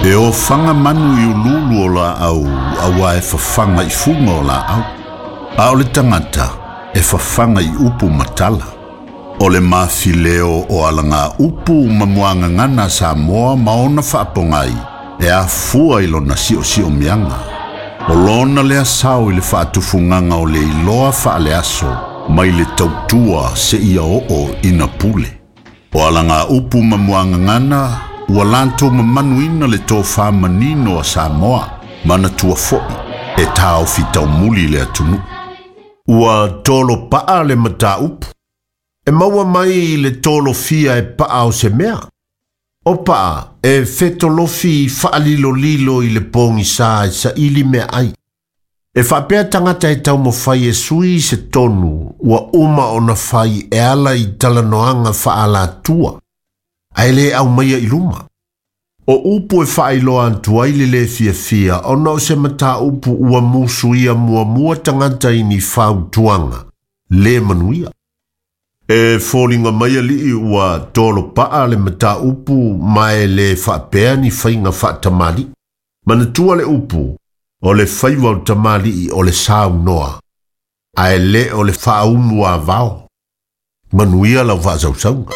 E ofaga manu i uluulu o laau auā e fafaga i fuga o laau. A o le tagata e fafaga i upu ma tala. O le mafileo o alagaupu ma muagagana a Samoa ma ona faapogai e afua i lona siosiomiaga. O lona lea sao i le faatufugaga o le iloa faaleaso mai le tautua seia oo ina pule. O alagaupu ma muagagana ua latou mamanuina le tofa manino a Samoa, manatua foi e taofi taumuli le atunuu. Ua tolo paa le mataupu. E maua mai le tolofia e paa o se mea. O paa e fetolofi faalilolilo i le pogisā e saili meaai. E faapea tagata e taumafai e sui se tonu ua uma ona fai e ala i talanoaga faaalatua, ae le aumaia i luma. O upu e faailoa atu ai le lē fiafia ona o se mataupu ua musuia muamua tagata i ni fautuaga lē manuia. E foliga mai alii ua tolo paa le mataupu ma e lē faapea ni faiga faatamalii. Manatua le upu, o le faiva o tamalii o le saunoa, ae lē o le faaumu avao. Manuia lau faasausauga.